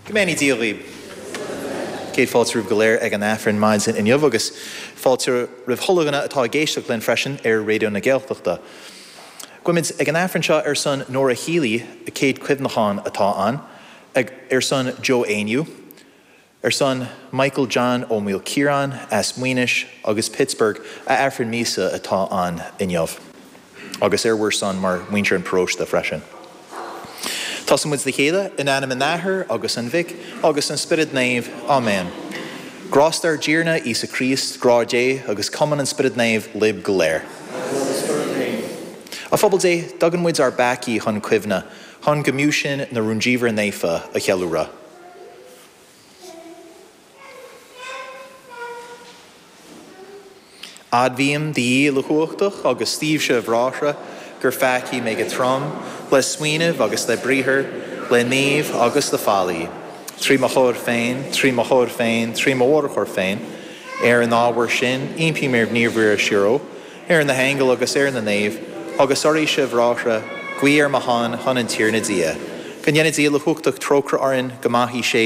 Go mbeannaí Dia dhaoib. Céad fáilte romhaibh go léir ag an Aifreann maidin inniu agus fáilte roimh chuile dhuine atá ag éisteacht linn freisin ar Raidió na Gaeltachta. Guímid ag an Aifreann seo ar son Nóra Healy, a céad cuimhneachán atá ann, ar son Joe Éinniú, Ar son Michael John Ó Maoilchiaráin as Maínis agus Pittsburgh a Aifreann míosa atá ann inniu. Agus ar bhur son mar mhuintir an pharóiste freisin. Tosaíonn muid le chéile in ainm an Athar agus an Mhic agus an Spioraid Naoimh. Áiméan. Grásta ár dTiarna Íosa Críost, grá Dé agus cumann an Spioraid Naoimh libh go léir. Agus le do spiorad féin. A phobal Dé, tugann muid ár bpeacaí chun cuimhne, chun go mb'fhiú sinn na rúndiamhra naofa a cheiliúradh. Admhaím do Dhia Uilechumhachtach agus daoibhse a bhráithre, gur pheacaigh mé go trom, le smaoineamh agus le briathar, le gníomh agus le faillí, trí mo chóir féin, trí mo chóir féin, trí mo mhórchóir féin. Ar an ábhar sin, impím ar Naomh Mhuire Síoraí, ar na haingil agus ar na naoimh, agus oraibhse, a bhráithre, guí ar mo shon chun an Tiarna Dia. Go ndéana Dia Uilechumhachtach trócaire orainn, go maithí sé.